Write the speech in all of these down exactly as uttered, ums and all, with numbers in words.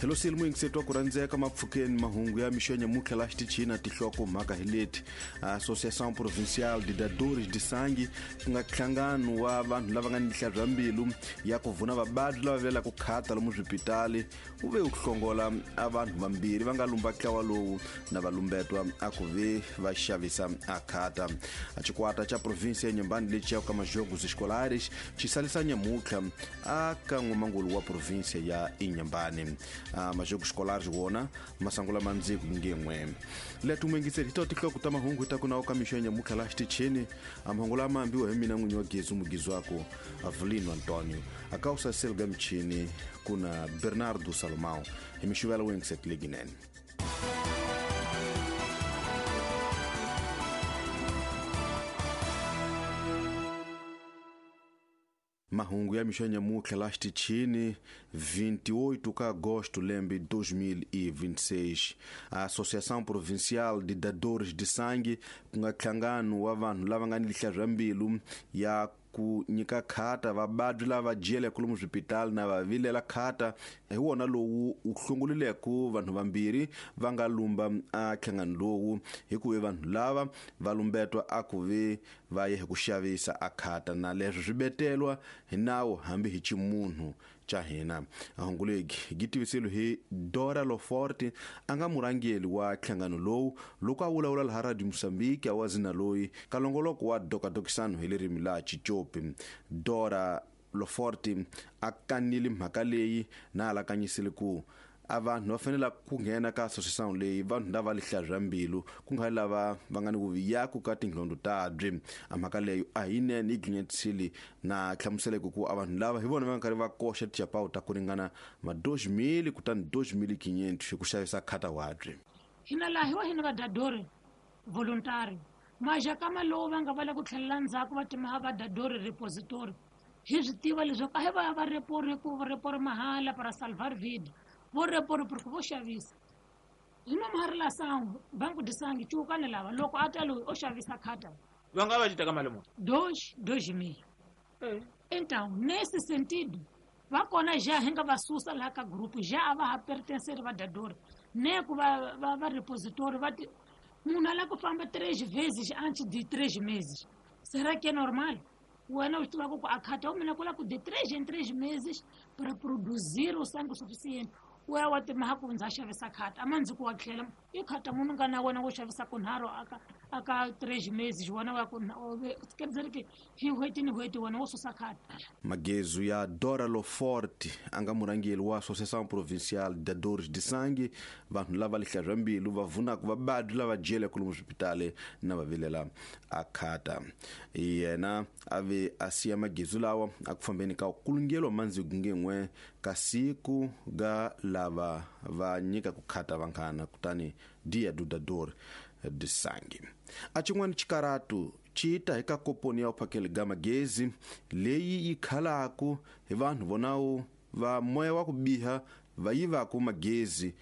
Hello silmu ingisetwa ku rhandzeka mapfukeni mahungu ya mixo ya nyamutlha la xitichini tihloko mhaka hi leti. Associação Provincial de Dadores de Sangue ku nga nhlangano wa vanhu lava nga ni nhlabya mbilu ya ku vuna vabadi lava vilelaka ku khata lomu swipitali wu ve wu hlongola a vanhu vambirhi va nga lumba ntlawa lowu na valumbetwa a ku ve va xavisa a khata. A xikwata xa provinsia ya Inhambane lexi ya ka Majogos Escolares xi salisa nyamutlha a ka n'wamangulu wa provinsia ya Inhambane. A Majogos Escolares wona masangula mandziku ngen'we letu mwingiseri hi to tihloko ta mahungu ta kuna ka mixo ya nyamutlha la xitichini. A mahungu lama ambiwa hi mina n'winyi wa Gezu mugizwako Avelino Antonio akausa selga mchini kuna Bernardo Salomão hi mixuvela wengiset leginene. Mahungu ya mixo ya nyamutlha la xitichini vinte e oito de agosto lembe dois mil e vinte e seis. A Associação Provincial de Dadores de Sangue ku nga nhlangano wa vanhu lava nga ni lihlabya mbilu ya ku nyika khata vabadi lava jele lomu swipitali na va vilela khata hi wona lowu wu hlongolileke vanhu vambirhi va nga lumba a nhlangano lowu hi ku vanhu lava va lumbetwa a ku ve va ye hi ku xavisa a khata na leswi swi betelwa hi nawu hambi hi ximunhu xa hina. Hungu legi gi tivisile hi Dora Loforte a nga murhangeri wa nhlangano lowu loko a vulavula laha Radio Mozambique a wazina loyi ka longoloko wa dokadokisano hi ririmi la Xicopi. Dora Loforte a kanile mhaka leyi na alakanyisile ku a vanhu va fanele ku nghena ka association leyi vanhu lava lihlabya mbilu ku nga lava va nga ni vuviyaku ka tinhlondo tabyi. A mhaka leyo a hi nene yi gcinyetisile na hlamuseleke ku a vanhu lava hi vona va nga karhi va koxa tichapawu ta ku ringana ma dois mil kutani dois mil quinhentos hi ku xavisa khata wabyi. Hina laha hi wa hina vadadori voluntary majakama lowu va nga va la ku tlhelela ndzhaku va timaha vadadori repository hi swi tiva leswaku a hi va ya va repori ku repori mahala para salvar vida vo repori porque vo xavisa hi nomaharila banco de sangue cuukane lava loko a ta loyi o xavisa khata va nga va ci teka mali muni dois dois mil. Então nesse sentido va kona já hi nga va susa laha ka grupo já a va ha pertencer vadadori ne ku va va va repositori va ti munhu a lava ku famba três vezes antes de três meses. Será que é normal? Wena u swi tivaka ku a khata u mina ku lava ku de três em três meses para produzir o sangue suficiente wa wa timaha ku ndza xavisa khata a mandzi ku wa tlhela i khata munhu nga na wena wo xavisa kunharhu aka aka três meses wena wa ku quer dizer que hi n'hweti ni n'hweti wena wo susa khata. Magezu ya Dora Loforte a nga murhangeri wa Associação Provincial de Dadores de Sangue vanhu lava lihlabya mbilu va vunaka vabadi lava jeleke lomu swipitali na va vilela a khata. Yena a ve a siya magezu lawa a ku fambeni ka kulungelo mandziku ngen'we ka siku ga lava va nyika ku khata vanghana kutani dia do dador de sangue. A xin'wana xikaratu xi ta hi ka koponi ya uphakeli ga magezi leyi yi khalaku hi vanhu vonawo va moya wa ku biha va yivaku magezi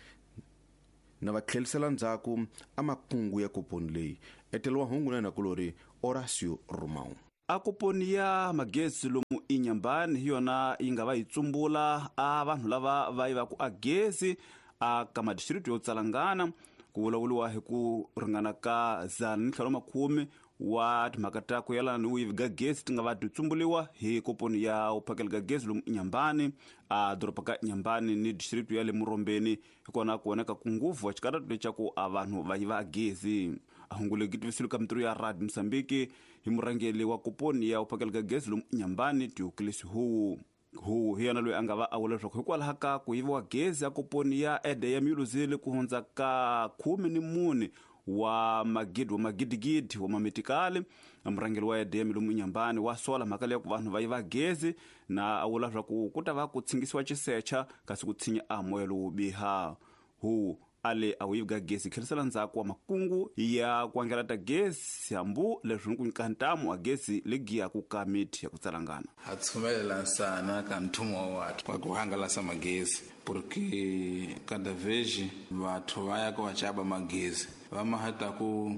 na va tlhelisela ndzhaku a makungu ya koponi leyi. Etelo wa hungu na nakulori Horacio Romão. A koponi ya magezi lomu Inhambane hi yona yi nga va yi tsumbula a vanhu lava va yivaku a gezi a ka madistrito yo tsalangana ku vulavuriwa hi ku ringana ka dzana ni ntlhanu makhume wa timhaka ta ku yelana ni vuyivi ga gezi ti nga va ti tsumbuliwa hi koponi ya uphakeli ga gezi lomu Inhambane a doroba ka Inhambane ni distrito ya le Murombeni hi kona ku voneka ku nguvu wa xikaratu lexa a vanhu va yiva gezi. A hungu legi tivisile ka mintirho ya Radio Mozambique hi murhangeri wa koponi ya uphakeli ga gezi lomu Inhambane Diocles Huwu. Huwu hi yena loyi a nga va a vula leswaku hikwalaho ka ku yiviwa gezi ya koponi ya ede ya Miluzile ku hundza ka khume ni mune wa magidi wa magidigidi wa mametikali murhangeri wa E D M lomu Inhambane wa sola mhaka leyi ku vanhu va yiva gezi na a vula leswaku ku ta va ku tshingisiwa xisecha kasi ku tshinya a moya lowo biha. Huwu ale a wu yivi gezi tlherisela ndzhaku wa makungu ya ku angelata gezi hambu leswi ni ku nyika ntamu wa gezi legiyaku ka miti ya ku tsalangana. Ha tshumelela nsana ka nthumo wa wathu wa ku hangalasa magezi porque cada vez vathu va ya ku va xava magezi va mahata ku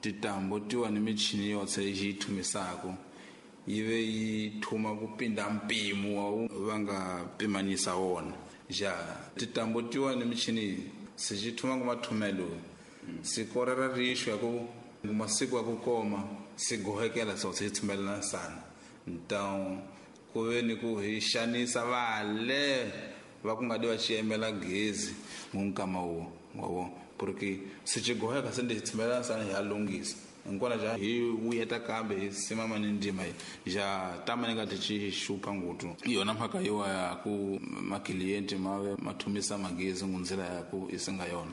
titambo tiwa ni michini yotse yi thumisaka yi ve yi thuma ku pinda mpimo wa va nga pimanisa wona. Ja titambo tiwa ni michini se xi thuma ku mathumelo siku ra rixo ya ku masiku ya ku koma se gohekela so se thumelela sana. Então ku ve ni ku hi xanisa vale va ku nga di va xiyemela gezi ngunkama wo wa porque se xi goheka se ndi thumelela sana hi ya lunghisa nkona ja hi wuyeta kambe hi simama ni ndima ja tama ni nga ti xi xupa ngutu yona mhaka yiwa ya ku maklienti ma ve ma thumisa magezi ngundzela ya ku isinga yona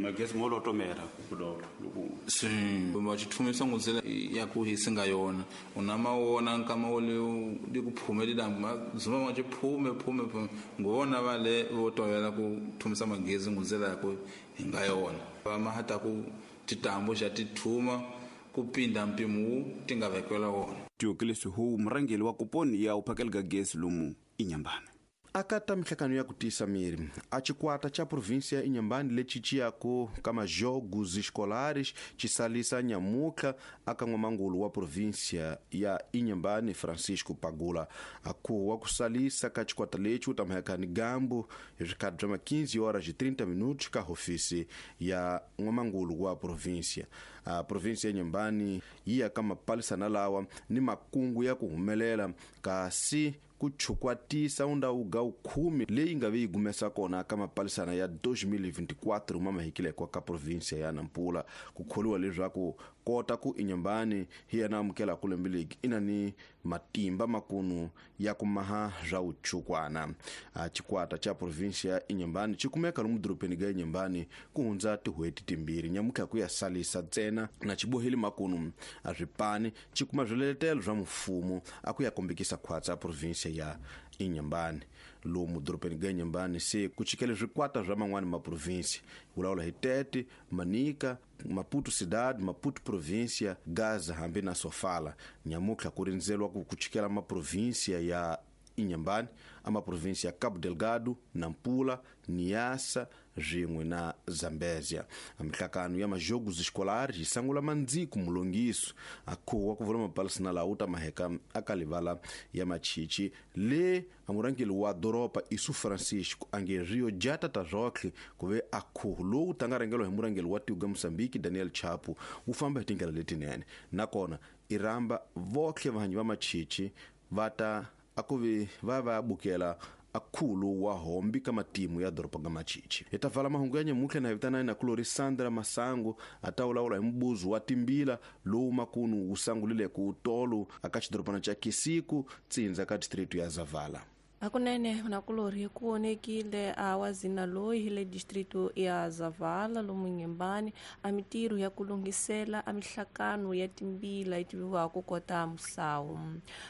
magezi mo lotomera ku loko si ma xi thumisa ngundzela ya ku isinga yona una ma wona nkama wo le di ku phumeli damba zuma ma xi phume phume phume ngona va le vo tovela ku thumisa magezi ngundzela ya ku hinga yona va ma hata ku titambo xa tithuma kupinda mpimo ti nga vekela wona. Tiokelesi hu murangeli wa kuponi ya uphakeli ga gesi lomu Inhambane. Akata mihlangano ya kutisa miri a chikwata cha província Inhambane lechiciyako kama jogos escolares chisalisa nyamuka akan'wamangulu wa província ya Inhambane Francisco Pagula. Aku wa kusalisa ka chikwata lechi utamhekani gambo hi bya quinze horas e trinta minutos ka hofisi ya n'wamangulu wa província. A província ya Inhambane yi ya ka mapalisana lawa ni makungu ya ku humelela kasi ku chukwatisa undhawu ga khume leyi nga ve yi gumesa kona ka mapalisana ya dois mil e vinte e quatro ma mahikilekwa ka província ya Nampula. Ku kholiwa leswaku kota ku Inhambane hi yena amukela ku lembe leyi ina ni matimba makunu ya ku maha swa uchukwana. A chikwata cha província ya Inhambane xi kumeka lomu dorobeni ga Inhambane ku hundza tin'hweti timbirhi nyamutlha ku ya salisa ntsena na xiboheli makunu a swipani xi kuma swiletelo swa mfumo a ku ya kombekisa khwatsa província ya Inhambane. Lomu dorobeni ga Inhambane se ku chikele swikwata swa man'wani ma província vulavula hi Tete, Manica, Maputo cidade, Maputo província, Gaza hambi na Sofala. Nyamutlha ku rindzeriwa ku chikela ma província ya Inhambane, a ma província ya Cabo Delgado, Nampula, Niassa swin'we na Zambezia. A mihlangano ya majogos escolares yi sangula mandziku mulongiso akhuwa ku vula mapalisana lawa wu ta maheka aka livala ya machichi le amurangeli wa doroba Isu Francisco ange Rio Jata ta rotlhe ku ve akhuhu lowu tanga rhangeriwa hi murangeli wa tiko ga Mozambique Daniel Chapo wu famba hi tindlela letinene. Nakona i rhamba votlhe vahanyi va machichi va ta akuvi va va bukela akhulu wa hombi ka matimu ya doroba ga machichi. Hi ta vala mahungu ya nyamutlha na hi vitana na kulori Sandra Masango a ta vulavula hi mbuzo wa timbila lowu makunu wu sangulile ku tolo aka xidorobana xa Kisiku tsindza ka district ya Zavala. Hakunene nakulori ku onekile a wazina loyi hi le distrito ya Zavala lomu Inhambane a mitirho ya ku lunghisela a mihlakano ya timbila yi tiviwaka kota musawu.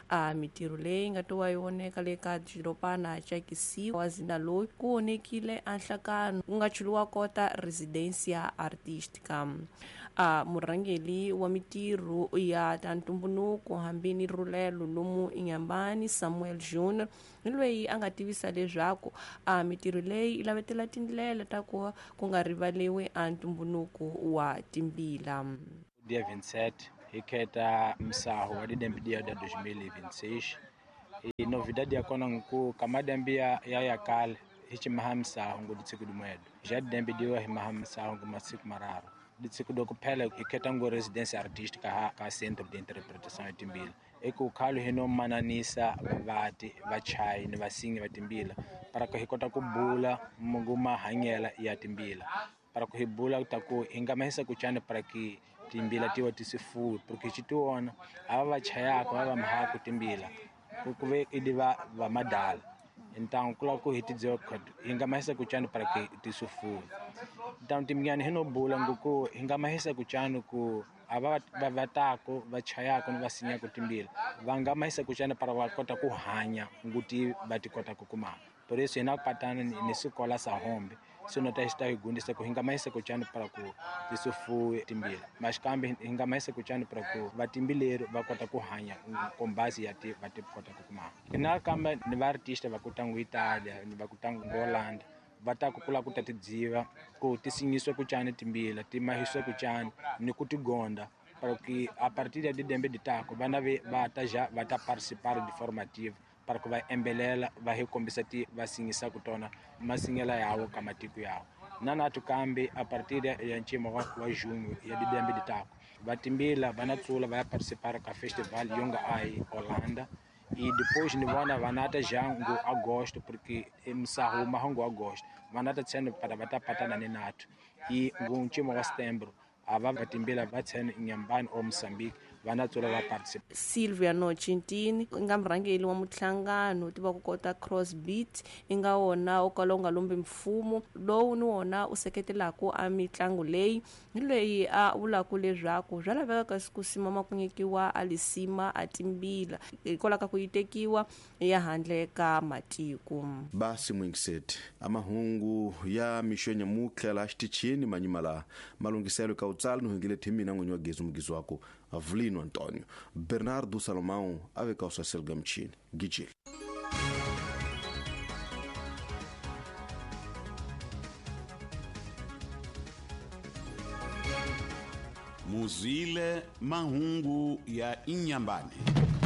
A mitirho leyi nga to wa yi voneka le ka xidorobana xa Kisiku wazina loyi ku onekile a nhlakano ku nga chuliwa kota residencia artística. A murhangeli wa mitirho ya ta ntumbuluko hambi ni rulelo lomu Inhambane Samuel Junior ni loyi a nga tivisa leswaku a mitirho leyi yi lavetela tindlela ta ku ku nga rivaliwi a ntumbuluko wa timbila. Dia vinte e sete hi kheta msaho wa didembe dia da dois mil e vinte e seis. E novidade ya kona nku kamadembe ya ya kale hi chimaha msaho ngu ditsiku dimwedo. Já didembe diwa hi maha msaho ngu masiku mararu. Ditsiku do kuphela hi kheta ngu residência artística ha ka centro de interpretação ya timbila. Eku khalo hi no mananisa vavati vachayi ni vasingi va timbila para ku hi kota ku bula mungu mahanyela ya timbila para ku hi bula ta ku hi nga mahisa ku chani para ki timbila tiwa tisifuwi porque xi tiwona ava va chayaka va va mahaku timbila ku ku ve idi va va madala. Então kula ku hi tidziwa hi nga mahisa ku chani para ki tisifuwi. Então timnyani hi no bula nguku hi nga mahisa ku chani ku ava va vatako va chayako ni va sinyako timbila va nga mahisa ku chani para va kota ku hanya nguti va ti kota ku kuma. Por isso hina patana ni sikola sa hombe sino ta xita hi gundisa ku hi nga mahisa ku chani para ku tisifuwi timbila mas kambe hi nga mahisa ku chani para ku vatimbileri va kota ku hanya kombasi ya ti va ti kota ku kuma. Hina kambe ni va artista va ku tangu Italia ni va ku tangu Holland va ta ku kula ku ta tidziva ku ti sinyiswa ku chani timbila ti mahiswa ku chani ni ku ti gonda para que a partir de didembe de tako vana ve va ta já va ta participar de formativa para ku va embelela va hi kombisa ti va singisaka tona masingela yawo ka matiko yawo. Na nathu kambe a partir ya ncimo wa, wa junho ya didembe ditako vatimbila va na tsula va ya participar ka festival yonga ai Holanda e depois ni vona vanata já ngo agosto porque msaho mahango agosto vanata tsene para vatapatana ni nathu e ngo ncimo wa setembro ava vatimbila va tsene Inhambane ou Moçambique vana tsula va participa. Silvia Nochintini i nga murhangeri wa muhlangano tiva ku kota crossbeat i nga wona wo kala wu nga lombi mfumo lowu ni wona u seketelaka a mitlangu leyi hi leyi a vulaka leswaku swa laveka kasi ku simama ku nyikiwa a lisima a timbila hikwalaho ka ku yi tekiwa ya handle ka matiko. Basi mwingiseti amahungu ya mixo ya nyamutlha laha xitichini manyima laha malunghiselo ka utsala ni hungile thimina n'winyi wa gezi mugizi wako Avelino Antônio. Bernardo Salomão ave calça selgamchini gijil. Muzile mahungu ya Inhambane.